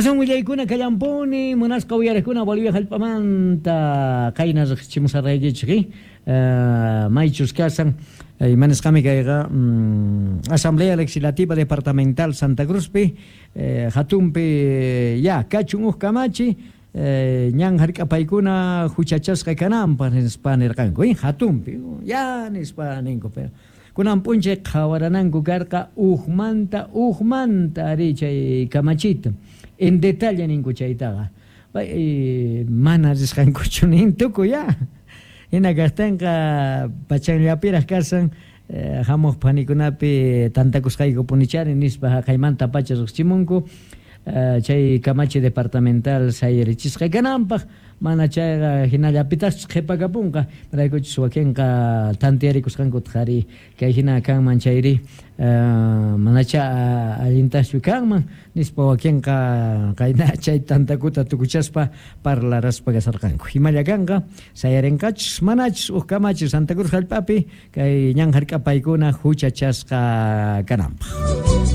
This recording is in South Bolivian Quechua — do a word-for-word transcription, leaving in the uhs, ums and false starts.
Asan willaykuna kallampuni munasqa uyariqkuna Bolivia hallp'amanta qayna riqsichimusarqaykichik, eh? Maychus kasan imanisqami kayqa mm, Asamblea Legislativa Departamental Santa Cruzpi eh, hatunpi ya kachun uj kamachi eh, ñan hark'apaykuna huchachasqa kananpaq nispa nirqanku, eh, hatunpi ya nispa ninku, pero kunan p'unchay qhawarananku karqa ujmanta ujmanta ari chay kamachita en detalle ninku chaytaqa pay mana risqankuchu nin tukuy ya hina kaqtinqa pachanllapiraq kasan eh, hamuq phanikunapi tantakusqayku punichari nispa haqaymanta pacha riqsichimunku eh, chay kamachi departamental sayarichisqa kananpaq mana chayqa hinallapitaqchus qhipakapunqa maraykuchus wakinqa tantiyarikusqankutaq ari kay hina kanman chayri eh, manacha allintaqchu kanman nispa wakinqa qayna chay tantakuta tukuchaspa parlaraspa kasarqanku himalla kanqa sayarinqachus manachus uj kamachi Santa Cruz hallp'api kay ñan hark'apaykuna huchachasqa kananpaq.